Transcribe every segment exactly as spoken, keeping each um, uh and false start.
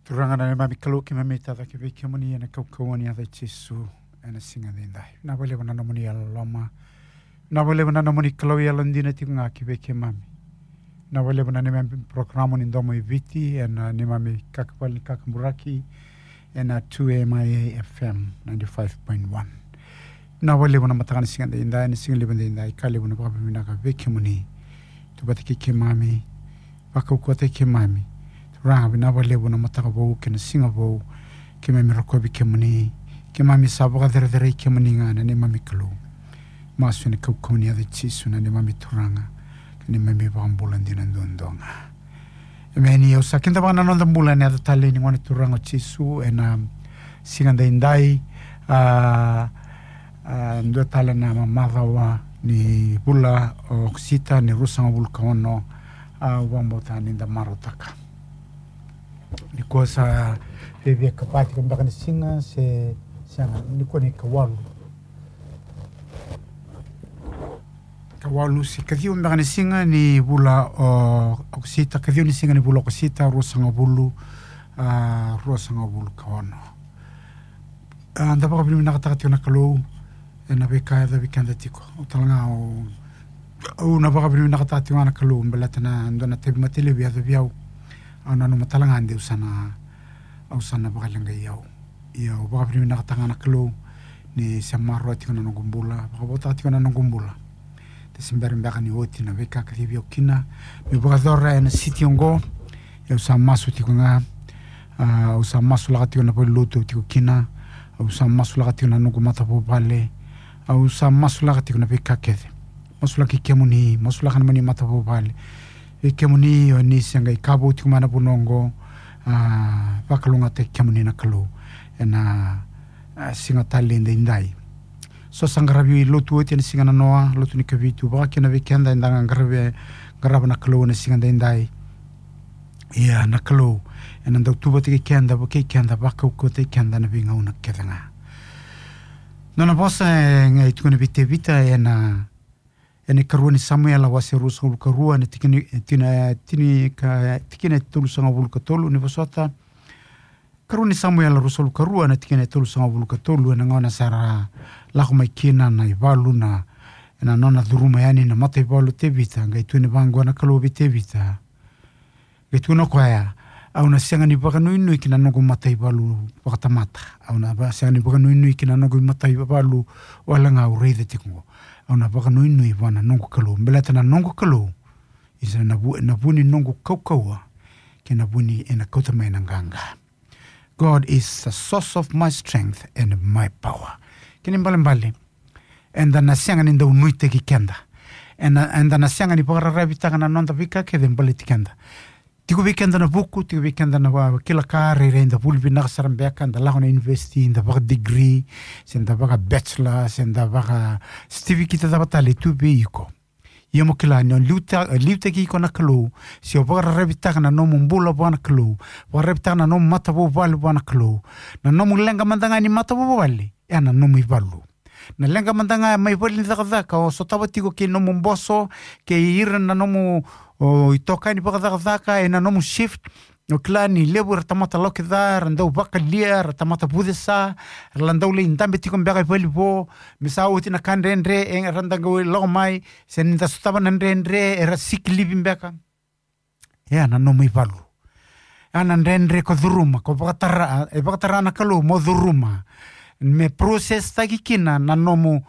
Turaga na neimami Kalou, keimami tacake vei kemuni ena kaukauwa ni yaca i Jisu ena siga edaidai. Vinaka vakalevu na nomuni yalololoma. Vinaka vakalevu na nomuni Kalou yalodina tiko ga ki vei keimami. Vinaka vakalevu na neimami porokaramu ni Domo i Viti ena neimami kakavale ni kakaburaki ena two M I A F M ninety-five point one. Vinaka vakalevu na mataka ni siga edaidai, ni siga levu edaidai, ka levu na vakavinavinaka vei kemuni. Tu vata kei keimami, vakaukauwataki keimami. Turaga, vinaka vakalevu na mataka vou kei na siga vou. Keimami rokovi kemuni, keimami sa vakacerecerei kemuni ga na neimami Kalou. Masu ena kaukauwa ni yaca i Jisu na neimami Turaga, ka neimami Vakabula dina duadua ga. Emeni. Au sa kidavaka na noda bula ena yaca talei ni Gone Turaga o Jisu ena siga edaidai. A, a, dua tale na ma-, macawa ni vula o Okosita ni ruasagavulu ka ono. A, au vakabauta ni da marautaka. Nikua sa viavia ka va tiko beka ni siga se, sega, nikua ni ka walu. Ka walu se ka ciwa beka ni siga ni vula o Okosita, ka ciwa ni siga ni vula o Okosita, ruasagavulu, a, ruasagavulu ka ono. A, da vakavinavinakataka tiko na Kalou ena veika e yacovi keda tiko. Au tale ga au, au na vakavinavinakataka tiko ga na Kalou, baleta na dua na tauvimate levu e yacovi au. Au nanuma tale ga de au sa na, au sa na vakaleqai au. Ia au vakavinavinakataka ga na Kalou ni se maroroya tiko na noqu bula, vakavotaka tiko na noqu bula. De se bera beka ni oti na veika ka civi au kina meu vakayacora ena siti oqo. Ia au sa masu tiko ga. A, au sa masulaka tiko na valenilotu au tiko kina. Au sa masulaka tiko na noqu matavuvale. Au sa masulaka tiko na veika kece. Masulaki kemuni, masulaka na nomuni matavuvale. Vei kemuni o ni se qai ka vou tiko mai na vanua oqo, a, vakalougatataki kemuni na Kalou ena, a, siga talei edaidai. So sa qaravi lotu oti ena siga nanoa, lotu ni Kavitu, vaka kina vei keda eda qaravi, qarava na Kalou ena siga edaidai. Ia na Kalou ena dau tu vata kei keda, vukei keda, vakaukauwataki keda ena veigauna kece ga. Nona vosa e qai tukuna vei Tevita ena, ena ikarua ni Samuela wase ruasagavulu ka rua, ena tikina, tina, tini ka, tikina e tolusagavulu ka tolu, ni vosota. Karua ni Samuela ruasagavulu ka rua, na tikina e tolusagavulu ka tolu, ena gauna sa ra lako mai kina na ivalu, na, ena nona curuma yani na mataivalu o Tevita, qai tukuna vaqo na Kalou vei Tevita. Qai tukuna o koya, au na sega ni vakanuinui ki na noqu mataivalu vakatamata. Au na va-, sega ni vakanuinui ki na noqu mataivalu wale ga au raica tiko qo. Au na vakanuinui vua na noqu Kalou. Baleta na noqu Kalou, isa na vu-, na vu ni noqu kaukauwa, kei na vu ni ena kauta mai na qaqa. God is the source of my strength and my power. Kena ibalebale, eda na sega ni dau nuitaki keda. Eda, eda na sega ni vakararavitaka na noda veika kece baleti keda. Tiko vei keda na vuku, tiko vei keda na va-, kila ka, rairai da vuli vinaka sara beka, da lako na university, da vaka degree, se da vaka bachelor, se da vaka certificate cava tale e tu vei iko. Ia mo kila ni o liuta-, liutaki iko na Kalou, se o vakararavitaka na nomu bula vua na Kalou, vakararavitaka na nomu matavuvale vua na Kalou. Na nomu leqa mada ga ni matavuvale, e na nomu ivalu. Na leqa mada ga mai vale ni cakacaka, o sotava tiko kei nomu boso, kei ira na nomu, o, itokani vakacakacaka, e na nomu shift, o kila ni levu era tamata lokica, era dau vakalia, era tamata vucesa, era la dau lai dabe tiko beka i valevo, me sa oti na ka dredre, e, era dau lako mai, se ni da sotava na dredre, era sick leave beka. E na nomu ivalu. E na dredre ko curuma, ko vakatara, e vakatara na Kalou mo curuma. Me process taki kina na nomu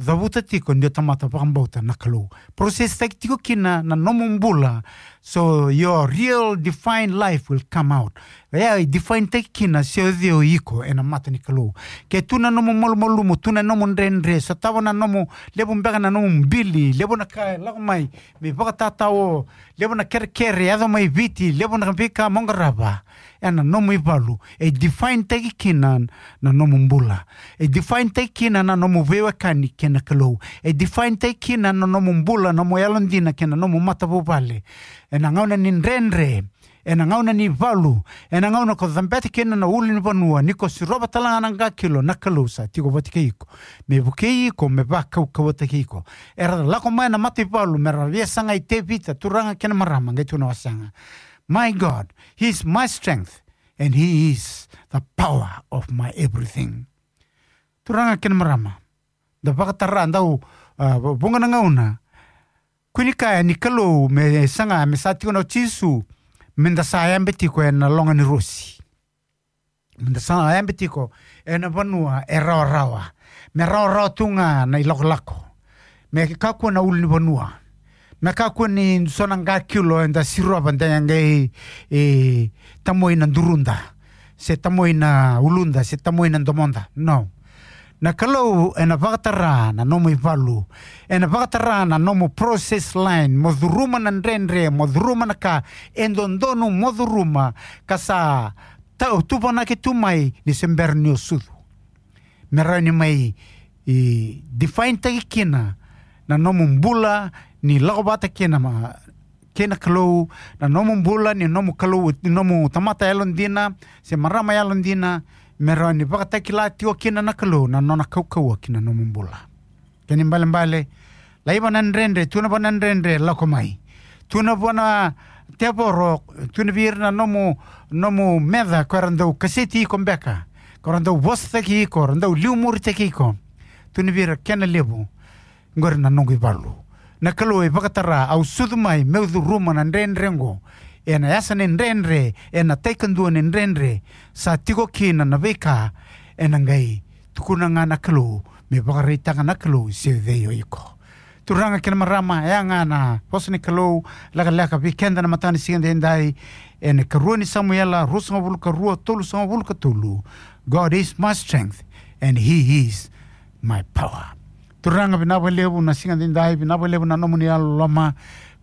cavuta tiko ni o tamata vakabauta na Kalou. Process taki tiko kina na nomu bula. So your real defined life will come out. E a define taki kina se o cei o iko e na mata ni Kalou. Ke tu na nomu malumalumu, tu na nomu dredre, sotava na nomu levu beka na nomu bili, levu na ka e lako mai, me vakatatao, levu na kerekere, yaco mai Viti, levu na veika mo qarava. E na nomu ivalu, e define taki kina na nomu bula. E define taki kina na nomu veiwekani kei na Kalou. E define taki kina na nomu bula, nomu yalodina kei na nomu matavuvale. E na gauna ni dredre, e na gauna ni valu, e na gauna ko cabeta kina na ulunivanua, ni ko sirova tale ga na qakilo, na Kalou sa tiko vata kei iko. Me vukei iko, me vakaukauwataki iko. Era lako mai na mataivalu, me ra via sagai Tevita, turaga kei na marama, qai tukuna o koya, my God, he is my strength. and he is the power of my everything. Turaga kei na marama, da vakatara, dau, ah, vuqa na gauna. Kua ni kaya ni Kalou me saga, me sa tiko na o Jisu, me da sa yabe tiko ena loga ni rosi. Me da sa yabe tiko ena vanua e rawarawa. Me rawarawa tu ga na ilakolako. Me kakua na ulunivanua. Me kakua ni so na qakilo eda sirova de qai, e, tamoi na duruda. Se tamoi na uluda, se tamoi na domoda. No. Na Kalou ena vakatara na nomu ivalu. Ena vakatara na nomu process line. Mo curuma na dredre, mo curuma na ka e dodonu mo curuma. Ka sa ta-, tuvanaki tu mai ni se bera ni o sucu. Me rawa ni mai, e, define-taki kina na nomu bula ni lako vata kina ma, kei na Kalou, na nomu bula ni nomu Kalou, ni nomu tamata yalodina, se marama yalodina, me rawa ni vakatakila tiko kina na Kalou na nona kaukauwa kina nomu bula. Kena ibalebale, laiva na dredre, tu na vanua dredre, lako mai. Tu na vanua tevoro, tu na vei ira na nomu, nomu meca, ko era dau kaseti iko beka, ko era dau vosataki iko, era dau liumuritaki iko. Tu na vei ira kena levu, qori na noqu ivalu. Na Kalou e vakatara, au sucu mai, meu curuma na dredre qo. Ena yasa ni dredre, ena tai kadua ni dredre, sa tiko kina na veika, ena qai tukuna ga na Kalou, me vakaraitaka na Kalou se cei o iko. Turaga kei na marama, e a ga na vosa ni Kalou, lekaleka vei keda na mataka ni siga daidai, ena karua ni Samuela, ruasagavulu ka rua, tolusagavulu ka tolu. God is my strength, and he is my power. Turaga, vinaka vakalevu na siga daidai, vinaka vakalevu na nomuni yalololoma,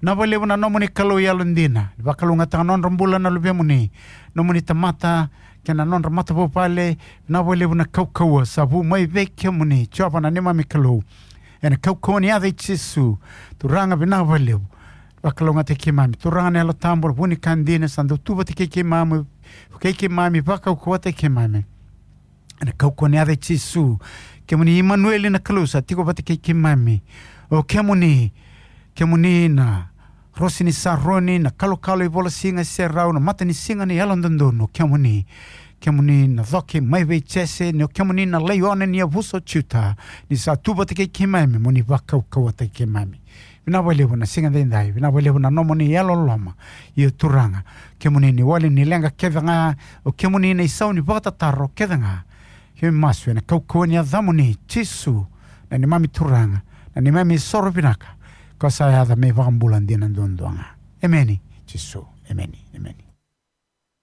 vinaka vakalevu na nomuni Kalou yalodina. Ni vakalougatataka na nodra bula na luvemuni, nomuni tamata, kei na nodra matavuvale, vinaka vakalevu na kaukauwa sa vu mai vei kemuni, Jiova na neimami Kalou. Ena kaukauwa ni yaca i Jisu, Turaga vinaka vakalevu. Vakalougatataki keimami, Turaga na Yalo Tabu, vu ni ka dina, sa dau tu vata kei keimami, kei keimami, vakaukauwataki keimami. Ena kaukauwa ni yaca i Jisu, kemuni Imanueli na Kalou sa tiko vata kei keimami. O kemuni, kemuni na Rosi ni Saroni, na kalokalo ivola siga e serau, na mata ni siga ni yalododonu, o kemuni, kemuni na coke mai vei Jese, ni o kemuni na laione ni yavusa o Juta, ni sa tu vata kei keimami, mo ni vakaukauwataki keimami. Vinaka vakalevu na siga daidai, vinaka vakalevu na nomuni yalololoma. Io Turaga, kemuni ni wali ni leqa kece ga, o kemuni na isau ni vakatataro kece ga. Keimami masu ena kaukauwa ni yacamuni, Jisu, na neimami Turaga, na neimami soro vinaka, ko sa yaca me ivakabula dina duadua ga. Emeni, Jisu, emeni, emeni.